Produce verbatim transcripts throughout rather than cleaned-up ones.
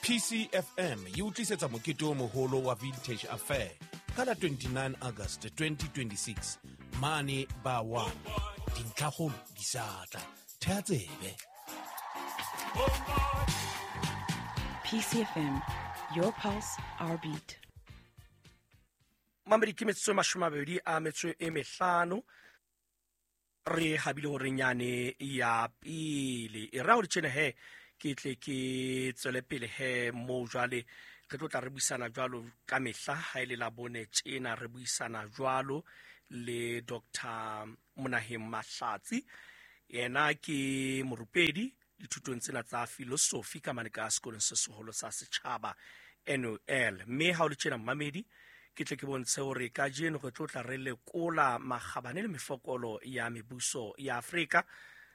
P C F M e o tlisetsa mokete o moholo wa Vintage Affair ka la twenty-nine August twenty twenty-six mane ba one. Dintlhakgolo di sa tla, thea tsebe. P C F M, your pulse, our beat. Mamedi, ke metsotso e mashome a mabedi a metso e mehlano re habile hore nyane ya pele e ra hore tjena he ke tle ke tswele pele he mo. Jwale re tlo tla re buisana jwalo ka mehla ha ile la bone tjena, re buisana jwalo le Doctor Monaheng Mahlatsi. Yena ke morupedi dithutong tsena tsa filosofi ka mane ka sekolong se seholo sa setjhaba N U L. Mme ha o le tjena, mmamedi, ke tle ke bontshe hore kajeno re tlo tla re lekola makgabane le mefokolo ya mebuso ya Afrika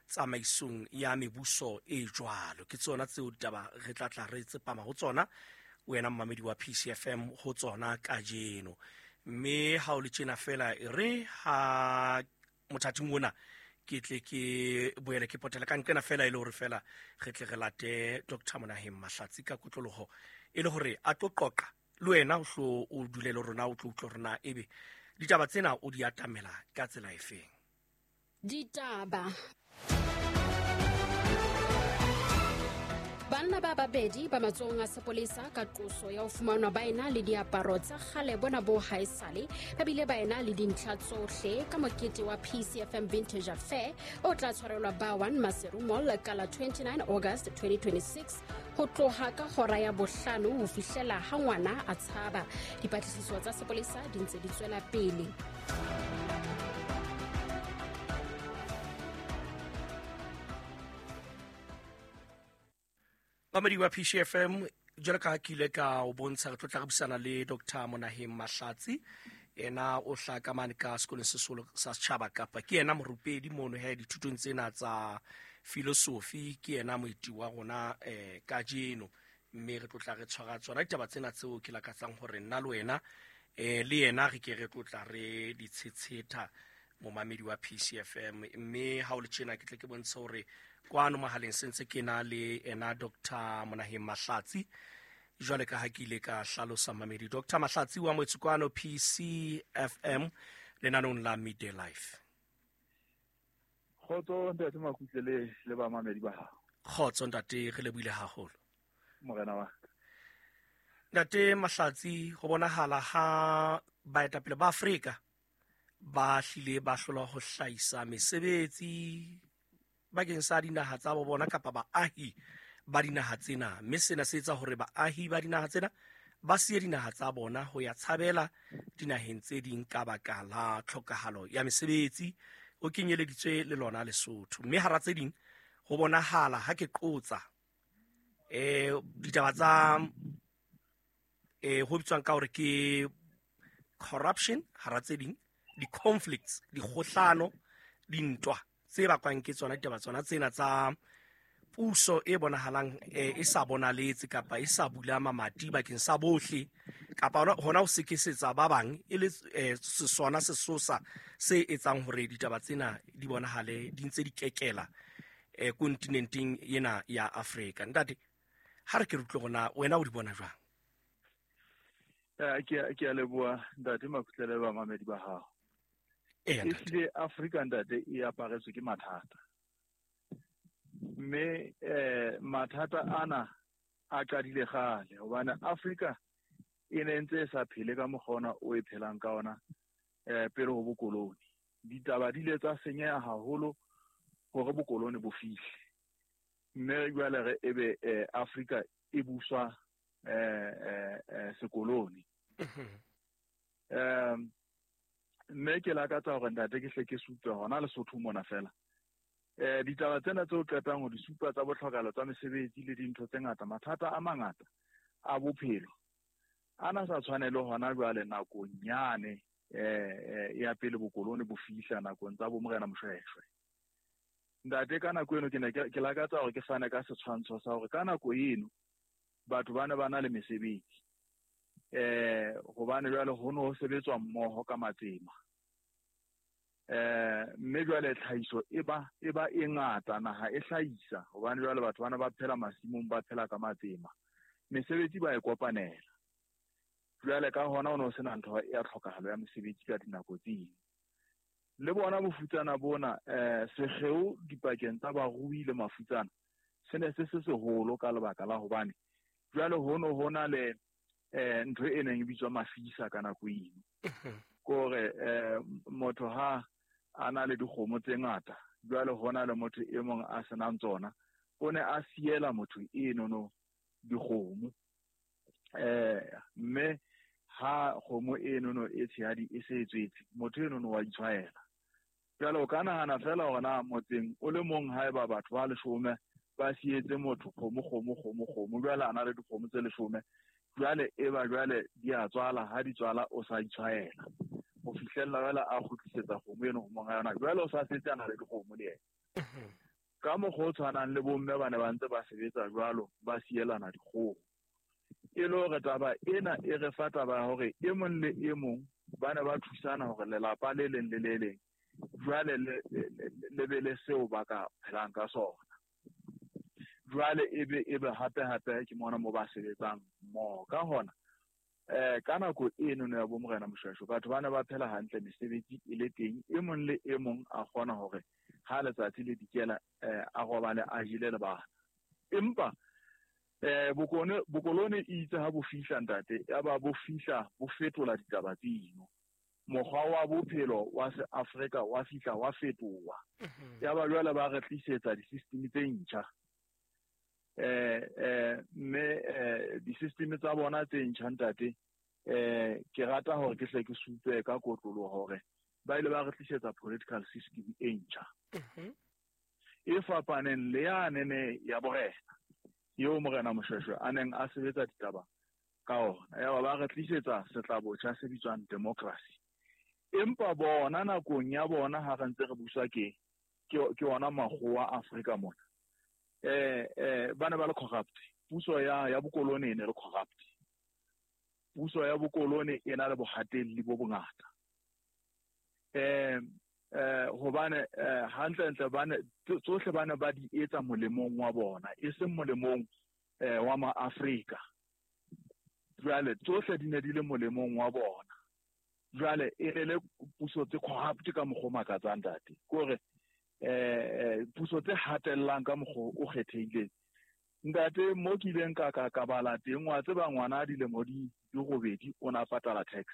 tsamaisong ya mebuso e jwalo. Ke tsona tseo ditaba re tla tla re tsepama ho tsona, wena mmamedi wa P C F M, ho tsona kajeno. Mme ha o le tjena fela, e re ha mothating ona ke tle ke boele ke potela ka nqena fela, e le hore fela re tle re late Doctor Monaheng Mahlatsi ka kotloloho, e le hore a tlo qoqa le wena, o hlo o dule le rona, o tlo utlwa rona ebe ditaba tsena o di atamela ka tsela efeng. Ditaba. Banna ba babedi ba matsohong a sepolesa ka qoso ya ho fumanwa ba ena le diaparo tsa kgale bona bo haesale, ba bile ba ena le dintlha tsohle ka mokete wa P C F M Vintage Affair o tla tshwarelwa ba one Maseru Mall ka la twenty-nine August twenty twenty-six ho tloha ka hora ya bohlano ho fihlela ha ngwana a tshaba. Dipatlisiso tsa sepolesa di ntse di tswela pele. Mamedi wa P C F M, jwalo ka ha ke ile ka o bontsha, re tlo tla re buisana le Doctor Monaheng Mahlatsi. Yena o hlaha ka mane ka sekolong se seholo sa setjhaba, kapa ke yena morupedi mono he dithutong tsena tsa filosofi. Ke yena moeti wa rona um kajeno, mme re tlo tla re tshwara tsona ditaba tsena tseo ke lakatsang hore nna le wena um le yena re ke re tlo tla re di tshetsheta, momamedi wa P C F M. Mme ha o le tjena, ke tle ke bontshe hore kwano mohaleng se ntse ke na le ena Doctor Monaheng Mahlatsi, jwale ka ha ke ile ka hlalosa. Mamedi, Doctor Mahlatsi wa moetsi kwano P C F M lenaneong la Midday Life. Kgotso, ntate Makutle, le le bamamedi ba hao. Kgotso, ntate, re lebohile haholo. Morena wa ka. Ntate Mahlatsi, ho bonahala ha baetapele ba Afrika ba hlile ba hlolwa ho hlahisa mesebetsi bakeng sa dinaha tsa bo bona kapa baahi ba dinaha tsena, mme sena se etsa hore baahi ba dinaha tsena ba siye dinaha tsa bona ho ya tshabela dinaheng tse ding ka baka la tlhokahalo ya mesebetsi, ho kenyeleditswe le lona Lesotho. Mme hara tse ding, ho bonahala ha ke qotsa eh ditaba tsa eh ho bitswang ka hore ke corruption, hara tse ding di-conflicts, dikgohlano, dintwa tse bakwang ke tsona ditaba tsona tsena tsa puso e bonahalang eh, e sa bonaletse kapa e sa bula mamati bakeng sa bohle, kapa hona hona ho sekesetsa ba bang, e le eh, sesona sesosa se etsang hore ditaba tsena di bonahale di ntse di kekela eh, kontinenteng ena ya Afrika. Ntate, ha re ke re utlwe rona wena o di bona jwang? Eh, ke a- ke a leboha, ntate Makutle, le bamamedi ba hao. Eya, ntate. Ehlile Afrika, ntate, e aparetswe ke mathata, mme eh mathata ana a qadile kgale, hobane Afrika e ne ntse e sa phele ka mokgwa ona o e phelang ka ona eh pele ho bokoloni. Ditaba di ile tsa senyeha haholo hore bokoloni bo fihle, mme jwale re ebe eh, Afrika e buswa eh eh, eh sekoloni. um mme ke lakatsa hore, ntate, ke hle ke supe hona Lesotho mona fela eh ditaba tsena tse o qetang ho di supa tsa botlhokalo tsa mesebetsi le dintho tse ngata, mathata a mangata a bophelo ana sa tshwane le hona jwale. Nakong yane eh eh, ya pele bokoloni bo fihla, nakong tsa bo Morena Moshweshwe, ntate, ka nako eno ke ne ke ke lakatsa hore ke fane ka setshwantsho sa hore ka nako eno batho ba ne ba na le mesebetsi, eh hobane jwale ho no ho sebetswa mmoho ka matsema, eh mme jwale tlhahiso e ba e ba e ngata, naha e hlahisa, hobane jwale batho bana ba phela masimong, ba phela ka matsema. Mesebetsi ba e kopanela. Jwale ka hona ho no sena ntho ya tlhokahalo ya mesebetsi ka dinako tse ding. Le bona bofutsana bona eh sekgeo dipakeng tsa barui le mafutsana se ne se se seholo ka lebaka la hobane jwale hono hona le eh ntho e neng e bitswa mafisa ka nako eno. Kore eh motho ha a na le dikgomo tse ngata jwale hona le motho e mong a senang tsona o ne a siela motho eno no dikgomo eh mme ha kgomo eno no e tshehadi e se tswetse motho eno no wa itshwaela. Jwale o ka nahana fela hore na motseng o le mong haeba batho ba leshome ba sietse motho kgomo kgomo kgomo kgomo jwale a na le dikgomo tse leshome jwale e ba jwale di a tswala ha di tswala o sa itshwaela ho fihlella jwale a kgutlisetsa kgomo eno ho monga yona jwale o sa setse a na le dikgomo le yena. Ka mokgwa o tshwanang le bomme ba ne ba ntse ba sebetsa jwalo ba sielana dikgomo. E le hore taba ena e re fa taba ya hore e mong le e mong ba ne ba thusana hore lelapa le leng le le leng jwale le le be le seo ba ka phelang ka sona. Jwale ebe ebe hape hape ke mona mo ba sebetsang mmoho. Ka hona eh ka nako eno no ya bo Morena Moshweshwe batho ba ne ba phela hantle mesebetsi e le teng e mong le e mong a kgona hore ha letsatsi le dikela eh a robale a jele le bana. Empa eh bokone bokolone itse ha bo fihla ntate ya ba bo fihla bo fetola ditaba tseno. Mokgwa wa bophelo wa se Afrika wa fihla wa fetoha. Ya ba jwale ba re tlisetsa di-system tse ntjha. Eh eh mme eh di-system tsa bona tse ntjha ntate eh ke rata hore ke hle ke supe ka kotloloho hore ba ile ba re tlisetsa political system e ntjha. E fapaneng le yane ne ya borena eo Morena Moshweshwe a neng a sebetsa ditaba ka ona. Ya ba ba re tlisetsa setlabotjha se bitswang democracy. Empa bona nakong ya bona ha re ntse re buswa ke ke ona makgowa Afrika mona. Eh eh ba ne ba le corrupt. Puso ya ya bokolone e ne le corrupt. Puso ya bokolone e na le bohatelli bo bongata. Eh eh hobane hantle ntle ba ne tsohle ba ne ba di etsa molemong wa bona e seng molemong eh wa ma Afrika. Jwale tsohle di ne di le molemong wa bona. Jwale e le le puso tse corrupt ka mokgwa o makatsang ntate. Kore eh puso tse hatellang ka mokgwa o kgethehileng. Ntate mo ke ileng ka ka ka bala teng wa tseba ngwana a dilemo di di robedi o na patala tax.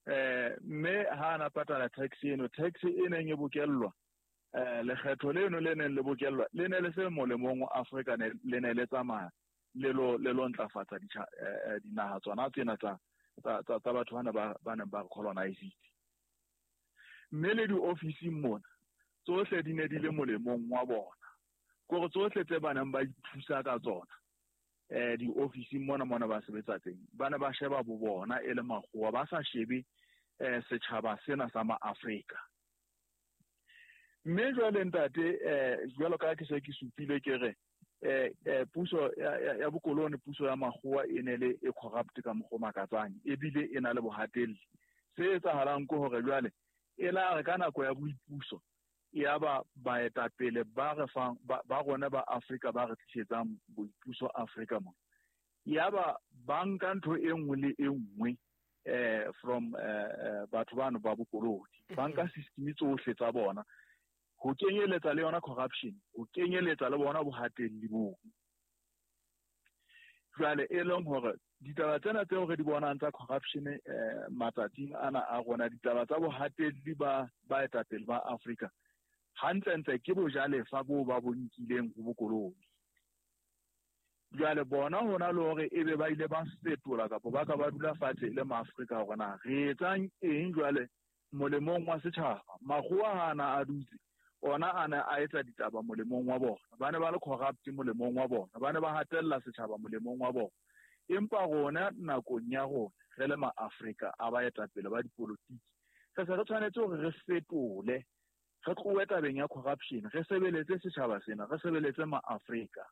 Eh mme ha ana patala tax eno tax e neng e bokellwa eh lekgetho leno le neng le bokellwa le ne le se molemong wa Afrika ne le ne le tsamaya le lo le lo ntlafatsa dinaha tsona tsena tsa tsa tsa batho bana ba ba neng ba colonize. Mme le di-officing mona tsohle di ne di le molemong wa bona. Kore tsohle tse ba neng ba ithusa ka tsona eh di-officing mona mona ba sebetsa teng ba ne ba sheba bo bona e le makgowa ba sa shebe eh setjhaba sena sa ma-Afrika. Mme jwale ntate eh jwalo ka ke se ke supile ke re eh eh puso ya ya bokolone puso ya makgowa e ne le e corrupt ka mokgwa o makatsang ebile e na le bohatelli. Se etsahalang ke hore jwale e la re ka nako ya boipuso ya ba baetapele ba re fang ba rona ba Afrika ba re tlisetsang boipuso Afrika mona ya ba ba nka ntho e nngwe le e nngwe eh from eh batho bano ba bokolone ba nka system tsohle tsa bona ho kenyeletsa le yona corruption ho kenyeletsa le bona bohatelli bo. Jwale e leng hore ditaba tsena tseo re di bonang tsa corruption eh matsatsing ana a rona ditaba tsa bohatelli ba baetapele ba Afrika hantlentle ke bojalefa bo ba bo nkileng ho bokolone. Jwale bona hona le hore ebe ba ile ba fetola kapa ba ka ba dula fatshe le maAfrika hore na re etsang eng jwale molemong wa setjhaba. Makgowa ha ana a dutse ona ana a etsa ditaba molemong wa bona. Ba ne ba le corrupt molemong wa bona. Ba ne ba hatella setjhaba molemong wa bona. Empa rona nakong ya rona re le maAfrika a baetapele ba dipolotiki re se re tshwanetse hore re fetole re tlohe tabeng ya corruption re sebeletse setjhaba sena re sebeletse maAfrika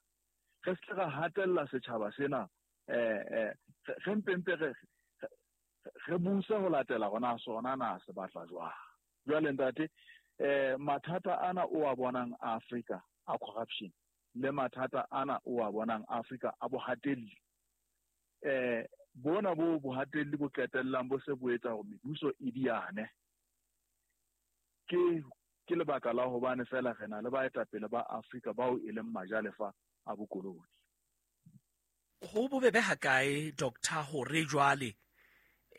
re se ra hatella setjhaba sena eh eh re mpempe re re buse ho latela rona sona na se batla jwang. Jwale ntate eh mathata ana o a bonang Afrika a corruption le mathata ana o a bonang Afrika a bohatelli. Eh bona bo bohatelli bo qetellang bo se bo etsa hore mebuso e diane. Ke ke lebaka la hobane fela re na le baetapele ba Afrika bao e leng majalefa a bokoloni. Ho bobebe ha kae doctor hore jwale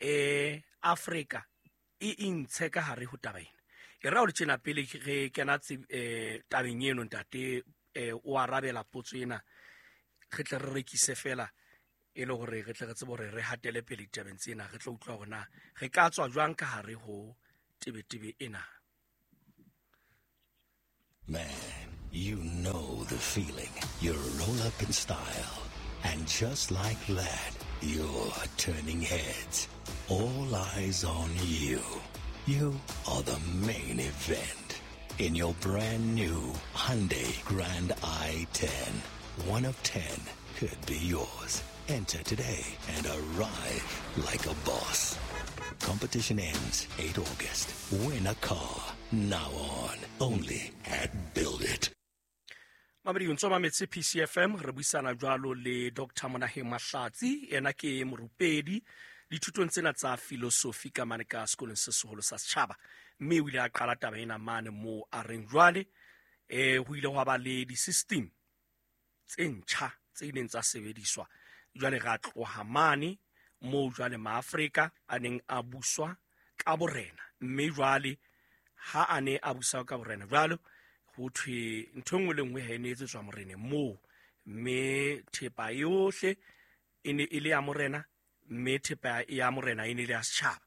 eh Afrika e intshe ka hare ho taba ena? E ra o le tjena pele re kena eh tabeng eno ntate eh o arabela potso ena, re tle re rekise fela e le hore re tle re tsebe hore re hatele pele ditabeng tsena, re tlo utlwa hore na re ka tswa jwang ka hare ho tebetebe ena. Man, you know the feeling. You roll up in style, and just like that, you're turning heads. All eyes on you. You are the main event. In your brand new Hyundai Grand i ten. One of ten could be yours. Enter today and arrive like a boss. Competition ends eighth August. Win a car. Now on. Only at Build It. Mamedi o ntso mametse P C F M, re buisana jwalo le Doctor Monaheng Mahlatsi, yena ke morupedi dithutong tsena tsa philosophy ka mane ka sekolong se seholo sa setjhaba, mme o ile a qala taba ena mane moo a reng jwale eh ho ile hwa ba le di-system tse ntjha tse ileng tsa sebediswa. Jwale ra tloha mane moo jwale maAfrika a neng a buswa ka borena, mme jwale ha a ne a busa ka borena jwalo ho thwe ntho nngwe le nngwe ha e ne etsetswa moreneng moo, mme thepa yohle e ne e le ya morena, mme thepa ya morena e ne e le ya setjhaba.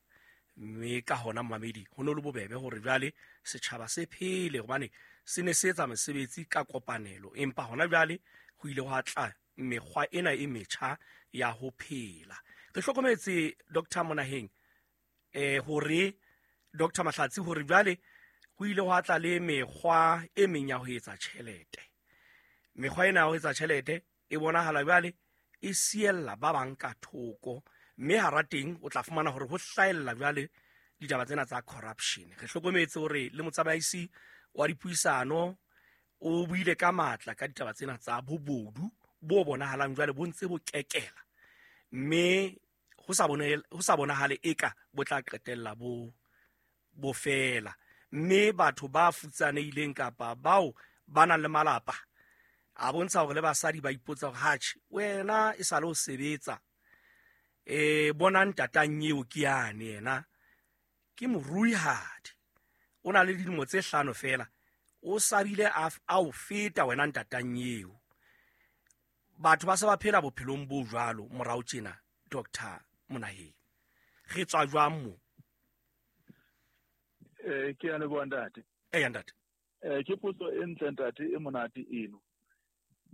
Mme ka hona mamedi ho no le bobebe hore jwale setjhaba se phele hobane se ne se etsa mesebetsi ka kopanelo, empa hona jwale ho ile hwa tla mekgwa ena e metjha ya ho phela. Re hlokometse Doctor Monaheng eh hore Doctor Mahlatsi hore jwale ho ile hwa tla le mekgwa e meng ya ho etsa tjhelete. Mekgwa ena ya ho etsa tjhelete e bonahala jwale e siella ba bang ka thoko, mme hara teng o tla fumana hore ho hlaella jwale ditaba tsena tsa corruption. Re hlokometse hore le motsamaisi wa dipuisano o buile ka matla ka ditaba tsena tsa bobodu bo bonahalang jwale bo ntse bo kekela, mme ho sa bone ho sa bonahale eka bo tla qetella bo bo fela. Mme batho ba futsanehileng kapa bao ba nang le malapa a bontsha hore le basadi ba ipotsa hore hatjhe wena e sale o sebetsa eh bona ntatang eo ke yane yena ke moruihadi, o na le dilemo tse hlano fela o sabile a o feta wena ntatang eo. Batho ba se ba phela bophelong bo jwalo morao tjena. Doctor Monaheng, re tswa jwang mo? Eh ke a leboha ntate. Eh ntate. Eh ke potso e ntle ntate, e monate eno.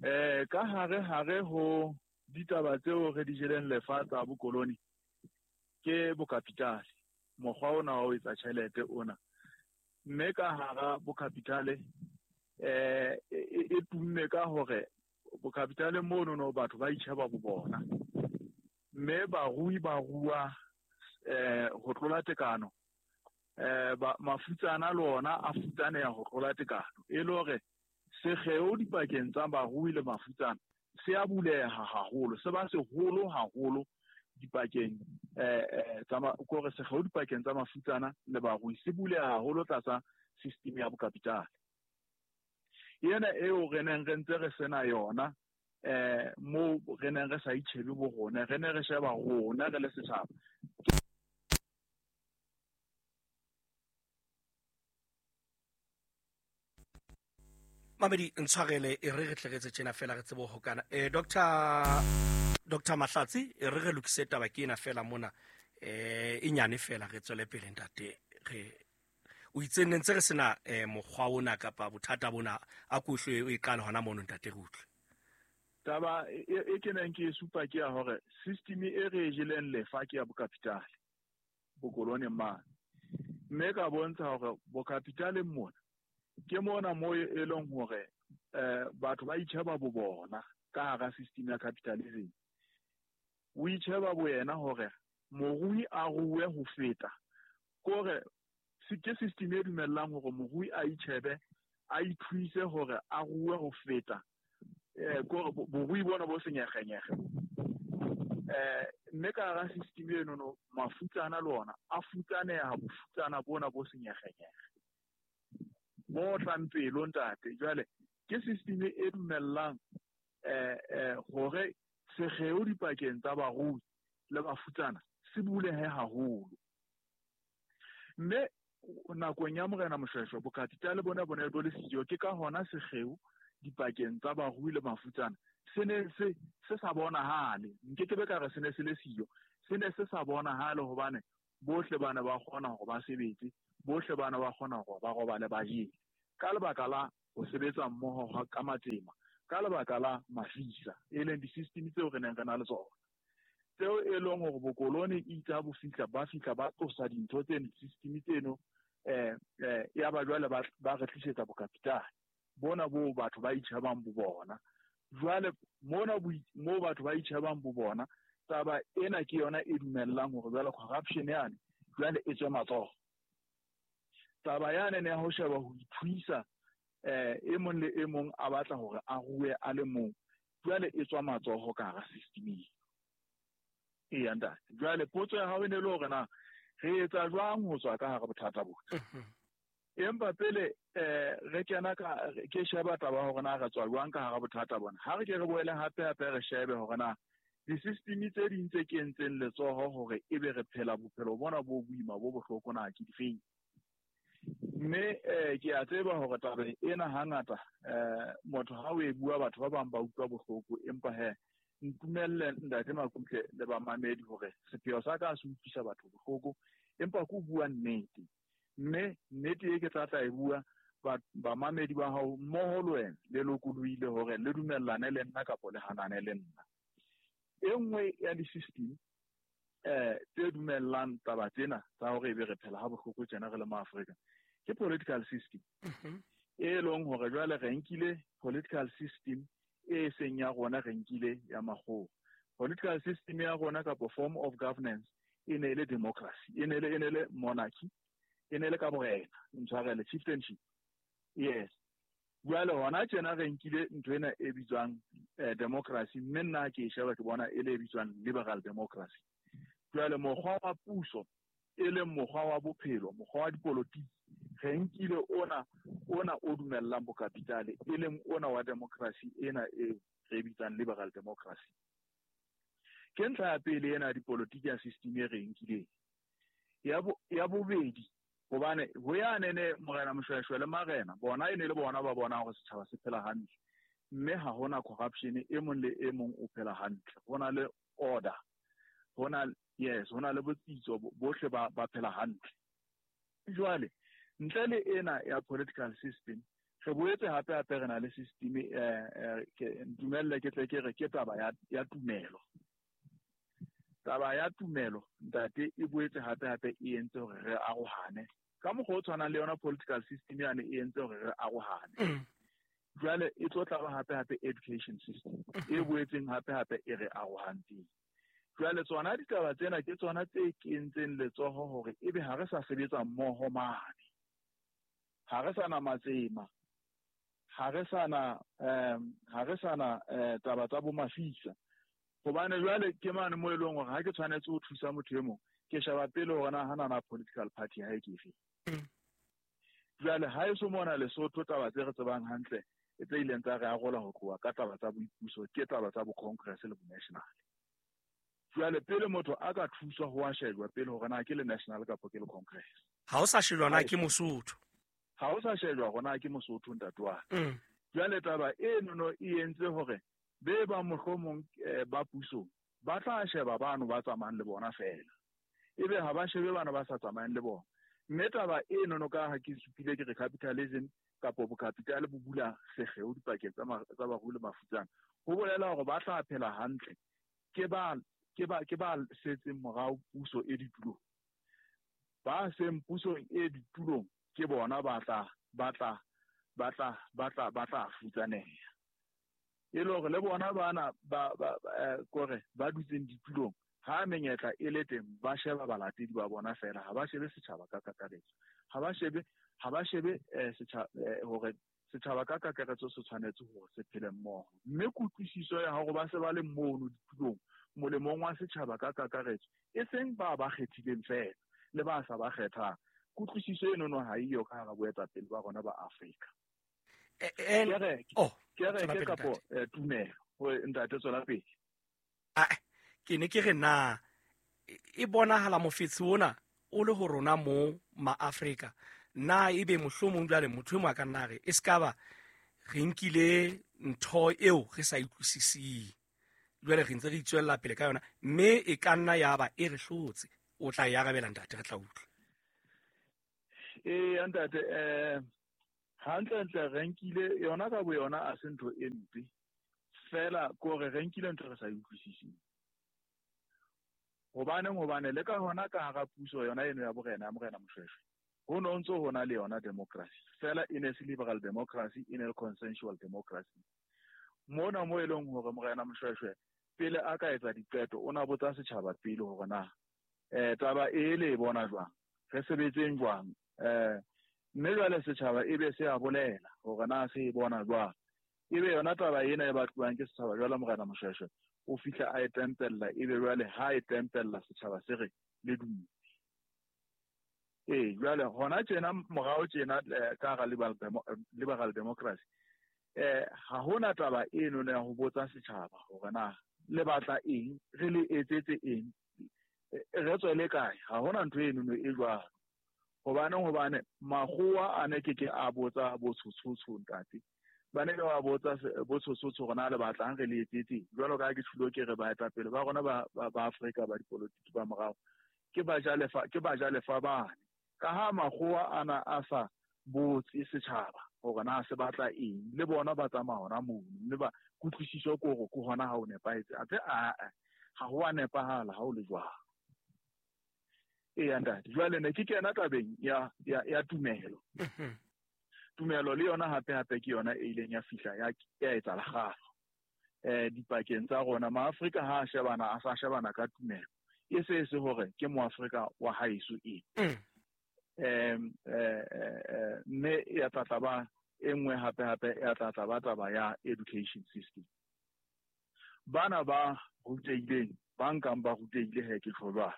Eh ka hare hare ho ditaba tseo re di jeleng lefa tsa bokoloni ke bokapitale, mokgwa ona wa ho etsa tjhelete ona, mme ka hara bokapitale eh e tumme ka hore bokapitale mono no batho ba itjheba bo bona, mme barui ba rua eh ho tlola tekano, eh ba mafutsana le ona a futsaneha ho tlola tekano, e le hore sekgeo dipakeng tsa barui le mafutsana se a buleha haholo, se ba seholo haholo dipakeng eh tsa kore sekgeo dipakeng tsa mafutsana le barui se buleha haholo tlasa system ya bokapitale. Yena eo re neng re ntse re sena yona eh mo re neng re sa itjhebe bo rona, re ne re sheba rona re le setjhaba. Mamedi ntshwarele e re re tle re tjena fela re tsebo hokana. Eh Doctor Doctor Mahlatsi e re re lokise taba ke ena fela mona eh e nyane fela re tswele pele ntate. Re o itse nne ntse re sena eh mokgwa ona kapa bothata bona a kuhlwe o e qala hona mono ntate re utlwe. Taba e ke neng ke supa ke ya hore system e re jeleng lefa ke ya bokapitale bokolone mane, mme ka bontsha hore bokapitale mona ke mona mo e leng hore eh batho ba itjheba bo bona ka hara system ya capitalism. O itjheba bo yena hore morui a rue ho feta, kore ke system e dumellang hore morui a itjhebe a ithuise hore a rue ho feta eh ko borui bona bo senyegenyege eh mme ka hara system eno no mafutsana le ona a futsaneha bofutsana bona bo senyegenyege bo tlang pelo ntate. Jwale ke system e dumellang eh eh hore sekgeo dipakeng tsa barui le bafutsana se bulehe haholo. Mme nakong ya Morena Moshoeshoe bokapitale bona bona bo le siyo, ke ka hona sekgeo dipakeng tsa barui le mafutsana se ne se se sa bonahale. Nkekebe ka re se ne se le siyo, se ne se sa bonahale hobane bohle bana ba kgona hore ba sebetse, bohle bana ba kgona hore ba robale ba jele ka lebaka la ho sebetsa mmoho ka matsema, ka lebaka la mafisa e leng di-system tseo re neng re na le tsona, tseo e leng hore bokolone itse ha bo fihla ba fihla ba tlosa dintho tseno di-system tseno eh eh ya ba jwale ba ba re tlisetsa bokapitale bona bo batho ba itjhebang bo bona. Jwale mona mo batho ba itjhebang bo bona, taba ena ke yona e dumellang hore jwale corruption yane jwale e tswe matsoho. Taba yane ne ya ho sheba ho ithuisa eh e mong le e mong a batla hore a rue a le mong, jwale e tswa matsoho ka hara system eo. Eya ntate, jwale potso ya hao e ne le hore na re etsa jwang ho tswa ka hara bothata bona. Empa pele eh re kena ka ke sheba taba hore na re tswa jwang ka hara bothata bona, ha re ke re boele hape hape re shebe hore na di-system tse ding tse kentseng letsoho hore ebe re phela bophelo bona bo boima bo bohloko na ke difeng. Mme eh ke a tseba hore taba ena hangata eh motho ha o e bua batho ba bang ba utlwa bohloko, empa he ntumelle ntate Makutle le bamamedi hore sepheo sa ka se utlwisa batho bohloko, empa ke bua nnete. Mme nnete e ke tla tla e bua bamamedi ba hao mmoho le wena le lokolohile hore le dumellane le nna kapa le hanane le nna. E nngwe ya di-system eh tse dumellang taba tsena tsa hore ebe re phela ha bohloko tjena re le maAfrika ke political system. E leng hore jwale re nkile political system e seng ya rona, re nkile ya makgowa. Political system ya rona kapa form of governance e ne le democracy, e ne le e ne le monarchy, e ne le ka borena, ntshwarele, chieftainship. Yes. Jwale hona tjena re nkile ntho ena e bitswang eh, democracy, mme nna ke e sheba ke bona e le e bitswang liberal democracy. Jwale mokgwa wa puso e leng mokgwa wa bophelo, mokgwa wa dipolotiki, re nkile ona ona o dumellang bokapitale, e leng ona wa democracy ena e re bitsang liberal democracy. Ke ntlha ya pele ena ya dipolotiki ya system e re nkileng. Ya bo ya bobedi, hobane ho ya nene Morena Moshoeshoe le marena bona e ne le bona ba bona hore setjhaba se phela hantle, mme ha hona corruption, e mong le e mong o phela hantle, hona le order, hona yes, hona le botsitso, bohle ba ba phela hantle. Jwale ntle le ena ya political system, re boetse hape hape re na le system eh ke ntumelle ke tle ke re ke taba ya ya tumelo. Taba ya tumelo ntate e boetse hape hape e entse hore re arohane ka mokgwa o tshwanang le yona political system yane e entse hore re arohane. Jwale e tlo tla hape hape education system e boetseng hape hape e re arohantseng. Jwale tsona ditaba tsena ke tsona tse kentseng letsoho hore ebe ha re sa sebetsa mmoho mane, ha re sa na matsema, ha re sa na um ha re sa na taba tsa bo mafisa. Hobane jwale ke mane mo e leng hore ha ke tshwanetse ho thusa motho e mong, ke sheba pele hore na hana na political party ha e ke efe. Jwale ha e so mona Lesotho taba tse re tsebang hantle e tse ileng tsa re arola ho tloha ka taba tsa boipuso ke taba tsa bo Congress le bo National. Jwale pele motho a ka thuswa ho a shejwa pele hore na ke le National kapa ke le Congress. Ha o sa shejwa na ke Mosotho. Ha o sa shejwa hore na ke Mosotho ntate wa. Jwale taba eno no e entse hore be ba mohlomong ba pusong ba tla sheba bano ba tsamayang le bona fela, ebe ha ba shebe bana ba sa tsamayang le bona. Mme taba eno no ka ha ke supile ke re capitalism kapa bokapitale bo bula sekgeo dipakeng tsa tsa barui le mafutsana, ho bolela hore ba tla phela hantle ke ba ke ba ke ba setseng morao puso e ditulong. Ba seng pusong e ditulong ke bona ba tla ba tla ba tla ba tla ba tla futsaneha. E le hore le bona bana ba ba kore ba dutseng ditulong ha menyetla e le teng ba sheba balatedi ba bona fela, ha ba shebe setjhaba ka kakaretso, ha ba shebe ha ba shebe setjhaba hore Setjhaba ka kakaretso se tshwanetse hore se phele mmoho. Mme kutlwisiso ya hore ba se ba le mono ditulong molemong wa setjhaba ka kakaretso, e seng ba ba kgethileng feela le ba sa ba kgethang. Kutlwisiso eno no ha eyo ka hara boetapele ba rona ba Afrika. Kereke, oh, kereke kapo tumelo hore ntate tswela pele. Ah, ke ne ke re na e bonahala mofetshe ona o le ho rona mo ma-Afrika. Na ebe mohlomong jwale motho e mong a ka nna re e ska ba re nkile ntho eo re sa utlwisising, jwale re ntse re itswella pele ka yona, mme e ka nna ya ba e re hlotse. O tla e arabela ntate, re tla utlwa. Ee ntate, eh hantlentle re nkile yona ka boyona a se ntho e mpe, fela kore re nkile ntho re sa e utlwisising. Hobaneng? Hobane le ka hona ka hara puso yona eno ya borena ya Morena Moshoeshoe, ho no ntso ho na le yona democracy, fela e ne se liberal democracy, e ne le consensual democracy. Mona mo e leng hore Morena Moshoeshoe pele a ka etsa diqeto o na botsa setjhaba pele hore na eh taba e le e bona jwang, re sebetseng jwang, eh mme jwale setjhaba e be se a bolela hore na se e bona jwang. Ebe yona taba ena e batluwang ke setjhaba jwale Morena Moshoeshoe o fihla a e tempella, ebe jwale ha e tempella setjhaba se re le dumele. Ee, jwale hona tjena morao tjena ka hara liberal liberal democracy, eh ha hona taba eno ya ho botsa setjhaba hore na le batla eng, re le etsetse eng, re tswele kae. Ha hona ntho eno e jwalo. Hobaneng? Hobane makgowa a ne ke ke a botsa botshotshotsho ntate, ba ne ba botsa botshotshotsho hore na le batlang re le etsetse. Jwalo ka ha ke tjhulo ke re baetapele ba rona ba ba Afrika ba dipolotiki ba morao ke bajalefa, ke bajalefa bane. Ka ha makgowa ana a sa botse setjhaba hore na se batla eng, le bona ba tsamaya hona mono, mme ba kutlwisiso ke hore ke hona ha o nepahetse. Athe a ha ho a nepahala ha o le jwalo. Ee ntate, jwale ne ke kena tabeng ya ya ya tumelo. Tumelo le yona hape hape ke yona e ileng ya fihla ya ya etsa lekgalo eh dipakeng tsa rona. MaAfrika ha a shebana a sa shebana ka tumelo, e se se hore ke moAfrika wa haeso e. Em eh mme ya tla ba e nngwe hape hape ya tla ba taba ya education system. Bana ba rutehileng, ba nkang ba rutehile he ke tjho jwalo,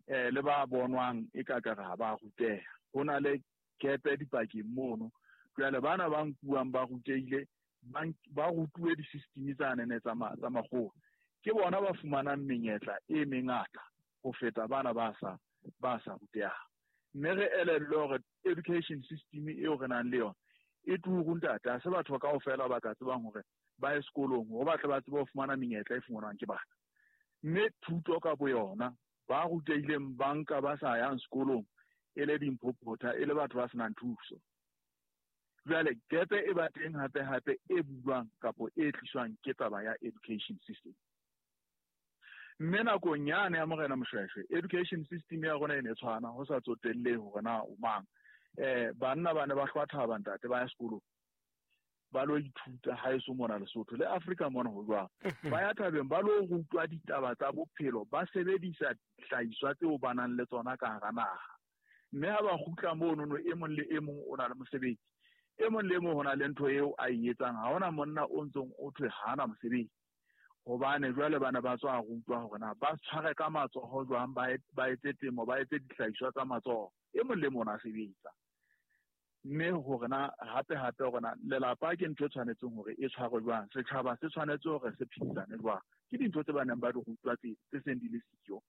eh le ba bonwang e ka ka ha ba ruteha, ho na le kepe dipakeng mono. Jwale bana ba nkuwang ba rutehile, ba rutuwe di-system tsane ne tsa tsa makgowa, ke bona ba fumanang menyetla e mengata ho feta bana ba sa ba sa rutehang. Mme re elellwe hore education system eo re nang le yona e turu ntate, ha se batho kaofela ba ka tsebang hore ba ye sekolong hore ba tle ba tsebe ho fumana menyetla e fumanwang ke bana. Mme thuto ka boyona, ba rutehileng ba nka ba sa yang sekolong e le dimphophotha, e le batho ba senang thuso. Jwale gepe e ba teng hape hape e bulwang kapo e tliswang ke taba ya education system. Mme nakong yane ya Morena Moshoeshoe, education system ya rona e ne tshwana, ho sa tsotellehe hore na o mang. Eh banna ba ne ba hlwa thaba ntate, ba ya sekolong ba lo ithuta haeso mona Lesotho le Afrika mona ho jwang. Ba ya thabeng ba lo rutwa ditaba tsa bophelo, ba sebedisa dihlahiswa tseo ba nang le tsona ka hara naha. Mme ha ba kgutla mono no, e mong le e mong o na le mosebetsi, e mong le e mong ho na le ntho eo a e etsang. Ha hona monna o ntsong o thwe ha ana mosebetsi, hobane jwale bana ba tswa rutwa hore na ba tshware ka matsoho jwang, ba etse temo, ba etse dihlahiswa tsa matsoho, e mong le mong a sebetsa. Mme hore na hape hape hore na lelapa ke ntho e tshwanetseng hore e tshwarwe jwang, setjhaba se tshwanetse hore se phedisane jwang, ke dintho tse ba neng ba di rutwa tse tse seng di le siyo.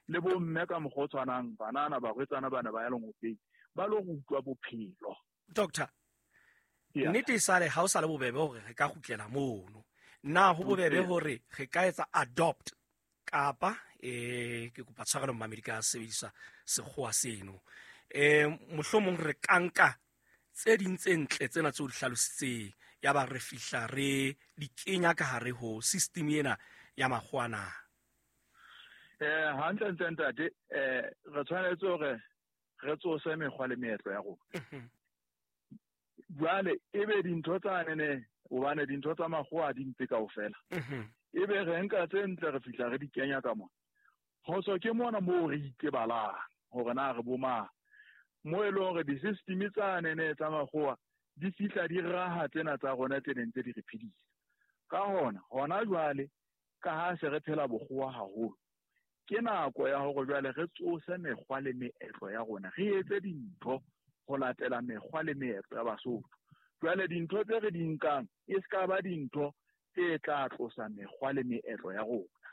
Le bomme ka mokgwa o tshwanang, banana, barwetsana bana ba ya lengopeng ba lo rutwa bophelo. Doctor, nnete e sale ha o sa le bobebe hore re ka kgutlela mono. Na ho bobebe hore re ka etsa adopt kapa eh ke kopa tshwarelo mmamedi ka sebedisa sekgowa seno, eh mohlomong re ka nka tse ding tse ntle tsena tseo di hlalositseng, ya ba re fihla re di kenya ka hare ho system ena ya makgowa na? Eh hantle ntle ntate, eh re tshwanetse hore re tsose mekgwa le meetlo ya rona. Jwale ebe dintho tsane ne, hobane dintho tsa makgowa di mpe kaofela, ebe re nka tse ntle re fihla re di kenya ka mona. Phoso ke mona moo re itebalang hore na re bo mang, mo e leng hore di-system tsane ne tsa makgowa Di fihla di raha tsena tsa rona tse neng tse di re phedisa. Ka hona, hona jwale ka ha se re phela bokgowa haholo, ke nako ya hore jwale re tsose mekgwa le meetlo ya rona, re etse dintho ho latela mekgwa le meetlo ya Basotho. Jwale dintho tse re di nkang e se ka ba dintho tse tla tlosa mekgwa le meetlo ya rona.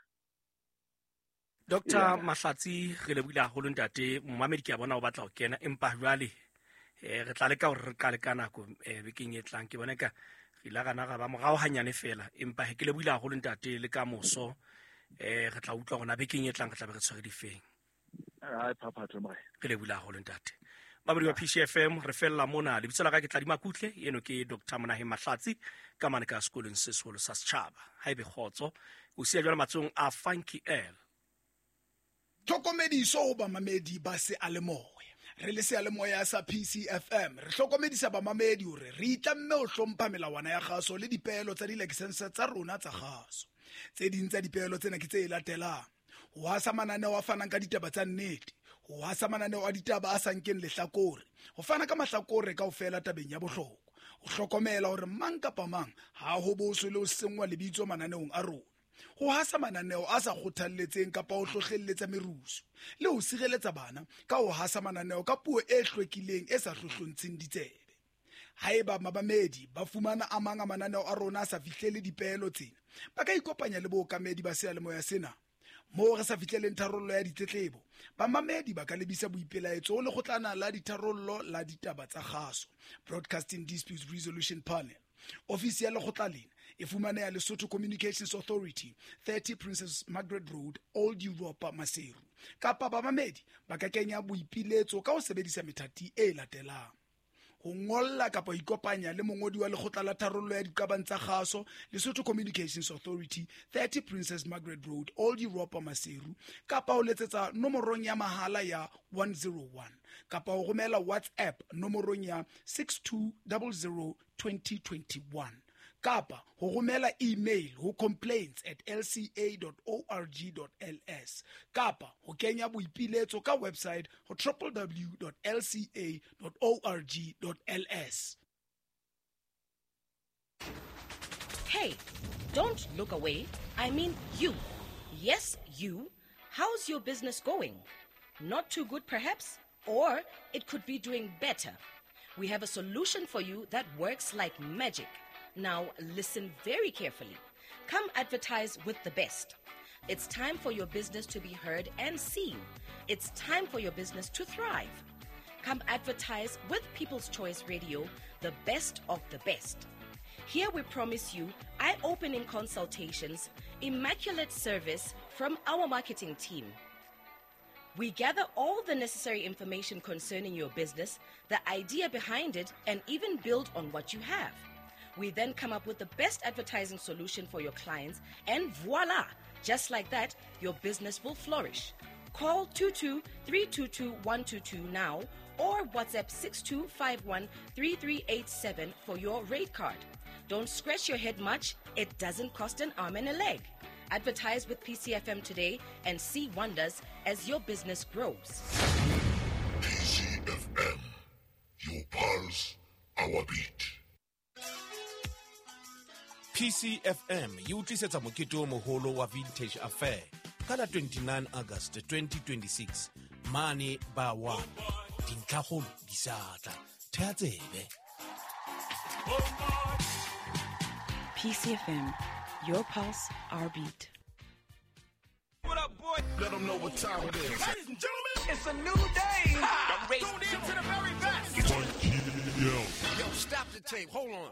Doctor Mahlatsi, re lebohile haholo ntate. Momamedi ke a bona o batla ho kena, empa jwale eh re tla leka hore re qale ka nako eh bekeng e tlang. Ke bona ka re ile ra na ra ba morao hanyane fela, empa he ke lebohile haholo ntate. Le ka moso eh re tla utlwa hore na bekeng e tlang re tla be re tshwere difeng. Ai phaphatho morena. Re lebohile haholo ntate. Babadi wa P C F M, re fella mona. Lebitso la ka ke Tladi Makutle, eno ke Doctor Monaheng Mahlatsi ka mane ka sekolong se seholo sa setjhaba. Haebe kgotso, o siya jwale matsohong a Funky L. Tlhokomediso ho bamamedi ba seyalemoya. Re le seyalemoya sa P C F M, re hlokomedisa bamamedi hore re itlamme ho hlompha melawana ya kgaso le dipeelo tsa dilakesense tsa rona tsa kgaso. Tse ding tsa dipeelo tsena ke tse latelang: ho hasa mananeo a fanang ka ditaba tsa nnete, ho hasa mananeo a ditaba a sa nkeng lehlakore, ho fana ka mahlakore kaofela tabeng ya bohlokwa, ho hlokomela hore mang kapa mang ha ho boswe le ho senngwa lebitso mananeong a rona, ho hasa mananeo a sa kgothalletseng kapa ho hlohlelletsa merusu, le ho sireletsa bana ka ho hasa mananeo ka puo e hlwekileng e sa hlohlontsheng ditsebe. Haeba mabamedi ba fumana a mang a mananeo a rona a sa fihlele dipeelo tsena, ba ka ikopanya le bookamedi ba seyalemoya sena. Moo re sa fihleleng tharollo ya ditletlebo, bamamedi ba ka lebisa boipelaetso ho lekgotlana la ditharollo la ditaba tsa kgaso, Broadcasting Disputes Resolution Panel. Ofisi ya lekgotla lena e fumaneha Lesotho Communications Authority, thirty Princess Margaret Road, Old Europa, Maseru. Kapa bamamedi ba ka kenya boipiletso ka ho sebedisa methati e latelang: ho ngolla kapa ho ikopanya le mongodi wa lekgotla la tharollo ya diqabang tsa kgaso, Lesotho Communications Authority, thirty Princess Margaret Road, Old Europa, Maseru, kapa ho letsetsa nomorong ya mahala ya one zero one, kapa ho romela WhatsApp nomorong ya six two zero zero twenty twenty-one, kapa ho romela email ho complaints at l c a dot org dot l s, kapa ho kenya boipiletso ka website ho w w w dot l c a dot org dot l s. Hey, don't look away. I mean you. Yes, you. How's your business going? Not too good, perhaps? Or it could be doing better. We have a solution for you that works like magic. Now, listen very carefully. Come advertise with the best. It's time for your business to be heard and seen. It's time for your business to thrive. Come advertise with People's Choice Radio, the best of the best. Here we promise you eye-opening consultations, immaculate service from our marketing team. We gather all the necessary information concerning your business, the idea behind it, and even build on what you have. We then come up with the best advertising solution for your clients, and voila! Just like that, your business will flourish. Call two two three two two one two two now or WhatsApp six two five one three three eight seven for your rate card. Don't scratch your head much. It doesn't cost an arm and a leg. Advertise with P C F M today and see wonders as your business grows. P C F M, your pulse, our beat. P C F M e o tlisetsa mokete o moholo wa Vintage Affair ka la twenty-nine August twenty twenty-six mane ba one. Dintlhakgolo di sa tla. Theha tsebe. P C F M, your pulse, our beat. What up, boy? Let them know what time it is. Ladies and gentlemen, it's a new day. Ha! Tuned in to the very best. Yo, stop the tape. Hold on.